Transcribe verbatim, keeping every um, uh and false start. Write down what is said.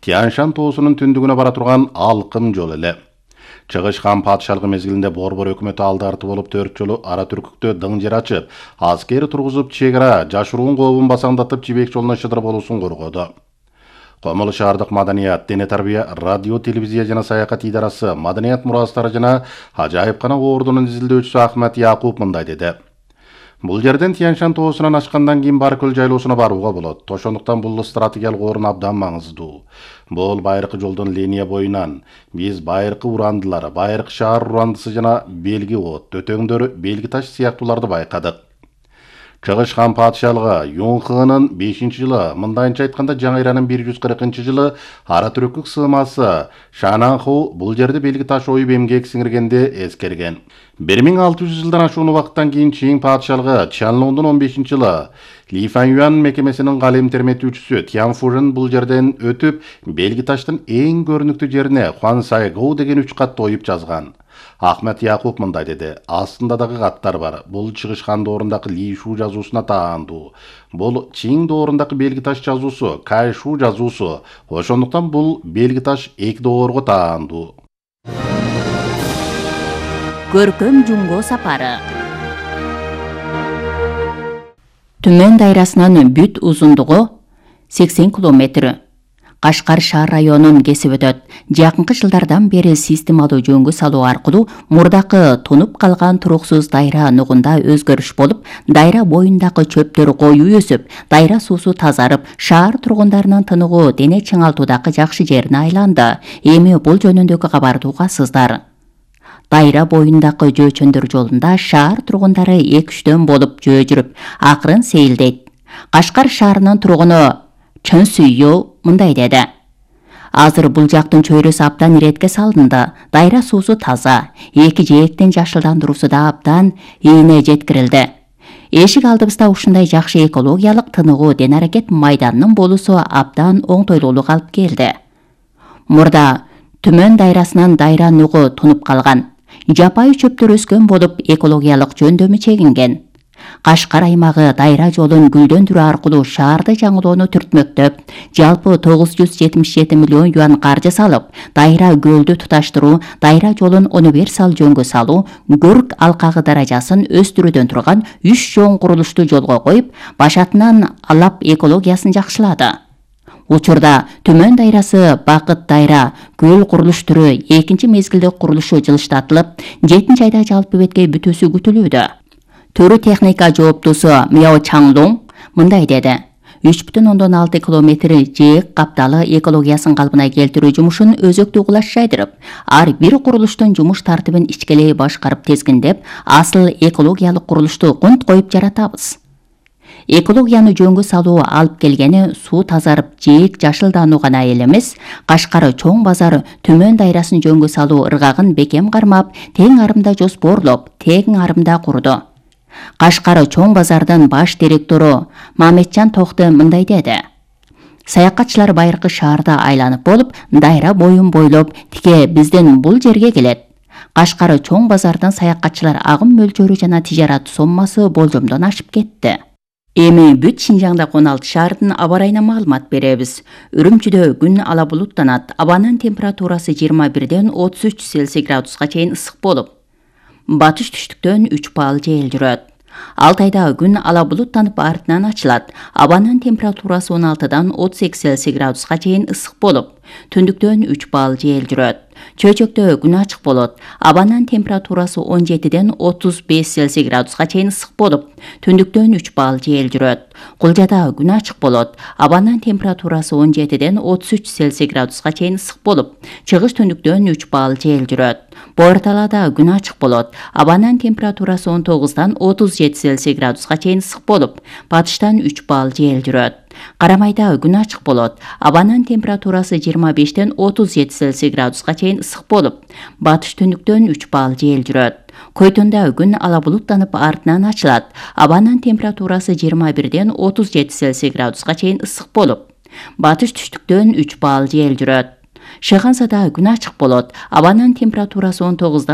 Тянь-Шань тоосунун түндүгүнө бара турган алкым жол эле. Чыгыш хан падышалыгы мезгилинде Борбор өкмөтү алды арты болуп төрт жолу ара түркүктө дың жер ачып, аскер тургузуп чек ара жашыруун кообун басаңдатып Жибек жолуна шыдыр болуусун коргоду. Комулу шаардык маданият, дене тарбия, радио, телевизия жана саякат идарасы, маданият мурастары жана ажайыпкана ордунун изилдөөчүсү Ахмет Якуп мындай деди. Бул жерден Тянь-Шань тоосунан ашкандан кийин Баркөл жайлоосуна барууга болот. Ошондуктан бул стратегиялык орун абдан маңыздуу. Бул байыркы жолдун линия боюнан биз байыркы урандылар, байыркы шаар урандысы жана белги от, өтөңдөр, белги таш сыяктууларды байкадык. Чыгыш хан падышалыгы Юнхынын бешинчи жылы, мындайынча айтканда Жаңы Ыйранын бир жүз кыркынчы жылы ара түрөкүк сыымасы Шананху бул жерде белги таш оюп эмгек сиңиргенде эскерген. бир миң алты жүз жылдан ашуун убакыттан кийин Чин падышалыгы Чанлондун он бешинчи жылы Ли Фаньюан мекемесинин калем терметүүчүсү Тян Фужин бул жерден өтүп, белги таштын эң көрүнүктүү жерине Хуан Сайгоу деген үч катты оюп жазган. Ахмет Якуп мындай деди. Астында дагы каттар бар. Бул чыгыш хан доорундагы Ли Шу жазуусуна таандуу. Бул Чин доорундагы белги таш жазуусу, Кай Шу жазуусу. Ошондуктан бул белги таш эки доорго таандуу. Көркөм жумго сапары. Түмөн дайрасынын бүт узундугу сексен километр. Кашкар шаар районун кесип өтөт. Жакынкы жылдардан бери системалуу жөнгө салуу аркылуу мурдакы тонуп калган туруксуз дайра нугунда өзгөрүш болуп, дайра боюндагы чөптөр коюу өсүп, дайра суусу тазарып, шаар тургундарынын тыныгуу дене чыңалтуудагы жакшы жерине айланды. Эми бул жөнүндөгү кабарды угасыздар. Дайра боюндагы жөө чөндөр жолунда шаар тургундары эки үчтөн болуп жөө жүрүп, акырын сейилдейт. Кашкар шаарынын тургуну Чөн Сүйөө мындай деди. Азыр бул жактын чөйрөсү абдан иретке салынды. Дайра суусу таза, эки жээктин жашылдандыруусу да абдан ийине жеткирилди. Эшик алдыбызда ушундай жакшы экологиялык тыныгуу ден аракет майданынын болуусу абдан оңтойлуулук алып келди. Мурда Түмөн дайрасынан дайра нугу тунуп калган. Жапайы чөптөр өскөн болуп, экологиялык жөндөмү чегинген. Кашкар аймагы дайра жолун гүлдөндүрүү аркылуу шаарды жаңылоону түртмөктөп, жалпы тогуз жүз жетимиш жети миллион юан каржы салып, дайра көлдү туташтыруу, дайра жолун универсал жөнгө салуу, көрк алкагы даражасын өстүрүүдөн турган үч чоң курулушту жолго коюп, башатынан алап экологиясын жакшылады. Учурда Түмөн дайрасы Бакыт дайра көл курулуш түрү экинчи мезгилдик курулушу жылыштатылып, жетинчи айда жалпы бетке бүтүүсү күтүлүүдө. Төрү техника жооптусу Мяо Чанлоң мындай деди. үч бүтүн ондон алты километр жээк капталы экологиясын калпына келтирүү жумушун өзөктүү кулаш жайдырып, ар бир курулуштун жумуш тартибин ичкелей башкарып тезгиндеп, асыл экологиялык курулушту кунт коюп жаратабыз. Экологияны жөнгө салуу алып келгени суу тазарып, жээк жашылдануу гана эле эмес, Кашкар чоң базар Түмөн дайрасын жөнгө салуу ыргагын бекем кармап, тең арымда жоспорлоп, тең арымда курду. Кашкар чоң базардын баш директору Маметжан Токты мындай деди. Саякатчылар байыркы шаарда айланып болуп, дайра боюн бойлоп, тике биздин бул жерге келет. Кашкар чоң базардын саякатчылар агым мөлчөрү жана тижарат соммасы болжомдон ашып кетти. Эми бүт Шинжаңда он алты шаардын аба ырайына маалымат беребиз. Үрүмчүдө күн ала булуттанат, абанын температурасы жыйырма бирден отуз үч Цельсий градуска чейин ысык болуп, батыш түштүктөн үч балл жел жүрөт. Алтайда күн ала булуттанып артынан ачылат. Абанын температурасы он алтыдан отуз эки Цельсий градуска чейин ысык болуп, түндүктөн үч балл жел жүрөт. Чөйчөктө күн ачык болот. Абанын температурасы он жетиден отуз беш Цельсий градуска чейин ысык болуп, түндүктөн үч балл жел жүрөт. Кулжада күн ачык болот. Абанын температурасы он жетиден отуз үч Цельсий градуска чейин ысык болуп, чыгыш түндүктөн үч балл жел жүрөт. Боорталада күн ачык болот. Абанын температурасы он тогуздан отуз жети Цельсий градуска чейин ысык болуп, батыштан үч балл жел жүрөт. Карамайда күн ачык болот. Абанын температурасы жыйырма бештен отуз жети Цельсий градуска чейин ысык болуп, батыш түндүктөн үч балл жел жүрөт. Койтонда күн ала булуттанып артынан ачылат. Абанын температурасы жыйырма бирден отуз жети Цельсий градуска чейин ысык болуп, батыш түштүктөн үч балл жел жүрөт. Шыгансада күн ачык болот. Абанын температурасы он тогуздан